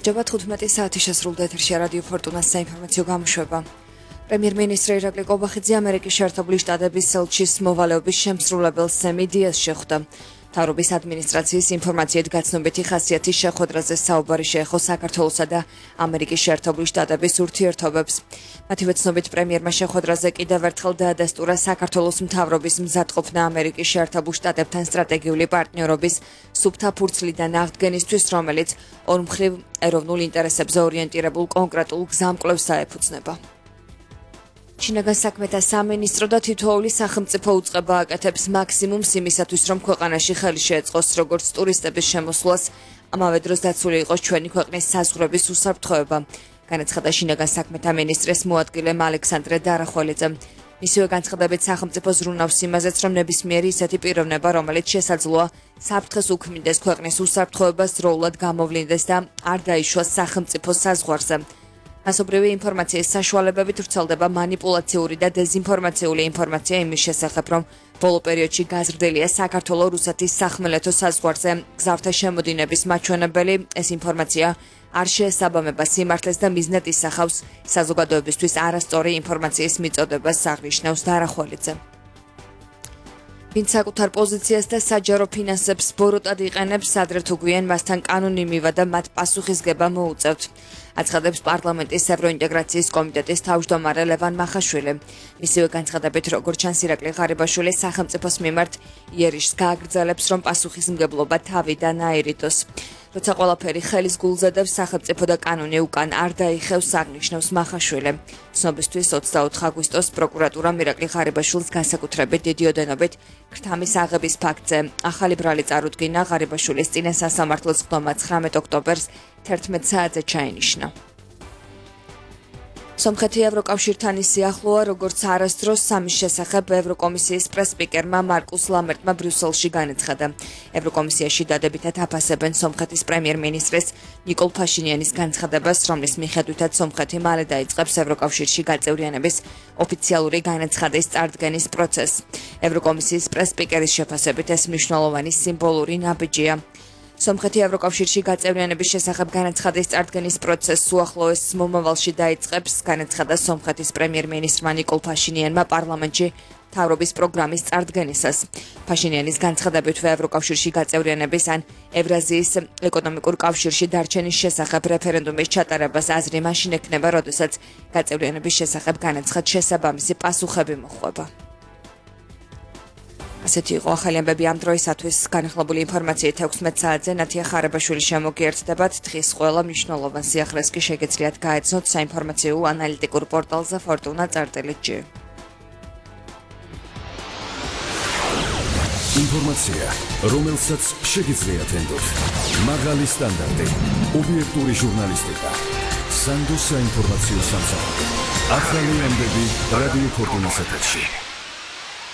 გამარჯობა 15 საათი შესრულდა ეთერში რადიო ფორტუნას საინფორმაციო გამოშვება. პრემიერ-მინისტრი ირაკლი კობახიძე ამერიკის შეერთებული შტატების ელჩის მოვალეობის შემსრულებელს სემი დიას შეხვდა. მთავრობის ადმინისტრაციის ინფორმაციით გაცნობითი ხასიათის შეხვედრაზე საუბარი შეეხო საქართველოსა და ამერიკის შეერთებული შტატების ურთიერთობებს. მათივე ცნობით პრემიერმა შეხვედრაზე კიდევ ერთხელ დაადასტურა საქართველოს მთავრობის მზადყოფნა ამერიკის შეერთებულ შტატებთან სტრატეგიული პარტნიორობის სუფთა ფურცლიდან აღდგენისთვის, რომელიც ორმხრივ ეროვნულ ინტერესებზე ორიენტირებულ კონკრეტულ გზამკვლევს აეფუძნება. შინაგან საქმეთა სამინისტრო და თითოეული სახელმწიფო უწყება აკეთებს მაქსიმუმს იმისათვის, რომ ქვეყანაში ხელი შეეწყოს როგორც ტურისტების შემოსვლას, ამავე დროს დაცული იყოს ჩვენი ქვეყნის საზღვრების უსაფრთხოება, განაცხადა შინაგან საქმეთა მინისტრის მოადგილე ალექსანდრე დარახველიძემ. მისივე განცხადებით სახელმწიფო ზრუნავს იმაზეც, რომ ნებისმიერი ისეთი პიროვნება, რომელიც შესაძლოა საფრთხეს უქმნიდეს ქვეყნის უსაფრთხოებას, დროულად გამოვლინდეს და არ დაიშვას სახელმწიფო საზღვარზე. მასობრივი ინფორმაციის საშუალებებით ვრცელდება მანიპულაციური და დეზინფორმაციული ინფორმაცია იმის შესახებ, რომ ბოლო პერიოდში გაზრდილია საქართველო-რუსეთის სახმელეთო საზღვარზე გზავრთა შემოდინების მაჩვენებელი. ეს ინფორმაცია არ შეესაბამება სიმართლეს და მიზნად ისახავს საზოგადოებისთვის არასწორი ინფორმაციის მიწოდებას, აღნიშნავს დარახველიძე. ვინც საკუთარ პოზიციას და საჯარო ფინანსებს ბოროტად იყენებს, ადრე თუ გვიან მასთან კანონი მივადა მათ პასუხისგება მოუწევთ. აცხადებს პარლამენტის ევროინტეგრაციის კომიტეტის თავმჯდომარე ლევან მახაშვილი. მისივე განცხადებით, როგორც ჩანს, ირაკლი ღარიბაშვილი სახელმწიფოს მიმართ იერიშს გააგრძელებს, რომ პასუხისმგებლობა თავიდან აირიდოს. როცა ყველაფერი ხელის გულზე დევს, სახელმწიფო და კანონი უკან არ დაიხევს, აღნიშნავს მახაშვილი. ცნობისთვის 24 აგვისტოს პროკურატურამ ირაკლი ღარიბაშვილს განსაკუთრებით დიდი ოდენობით ქრთამის აღების ფაქტზე ახალი ბრალი წარუდგინა. ღარიბაშვილის წინა სასამართლოს სხდომა 19 ოქტომბერს 11 საათზე ჩაინიშნა. სომხეთი ევროკავშირთან ისე ახლოა, როგორც არასდროს. ამის შესახებ ევროკომისიის პრესსპიკერმა მარკუს ლამერტმა ბრიუსელში განაცხადა. ევროკომისიაში დადებითად აფასებენ სომხეთის პრემიერ-მინისტრის ნიკოლ ფაშინიანის განცხადებას, რომლის მიხედვითაც სომხეთი მალე დაიწყებს ევროკავშირში გაწევრიანების ოფიციალური განაცხადის წარდგენის პროცესს. ევროკომისიის პრესსპიკერის შეფასებით ეს მნიშვნელოვანი სიმბოლური ნაბიჯია. სომხეთი ევროკავშირში გაწევრიანების შესახებ განაცხადის წარდგენის პროცესს უახლოეს მომავალში დაიწყებს, განაცხადა სომხეთის პრემიერ-მინისტრმა ნიკოლ ფაშინიანმა პარლამენტში მთავრობის პროგრამის წარდგენისას. ფაშინიანის განცხადებით, ევროკავშირში გაწევრიანების ან ევრაზიის ეკონომიკურ კავშირში დარჩენის შესახებ რეფერენდუმის ჩატარებას აზრი მაშინ ექნება, როდესაც გაწევრიანების შესახებ განაცხად შესაბამისი პასუხები მოხვდება. ასეთი იყო ახალი ამბები ამ დროისათვის. განახლებული ინფორმაციით 16 საათზე ნათია ხარებაშვილი შემოგიერთდებათ. დღის ყველა მნიშვნელოვან სიახლეს კი შეგეძლიათ გაეცნოთ საინფორმაციო ანალიტიკურ პორტალზე fortuna.gr. ინფორმაცია, რომელსაც შეგიძლიათ ენდოთ. მაღალი სტანდარტი, ობიექტური ჟურნალისტიკა, სანდო საინფორმაციო სამსახური. ახალი ამბები რადიო ფორტუნას ეთერში.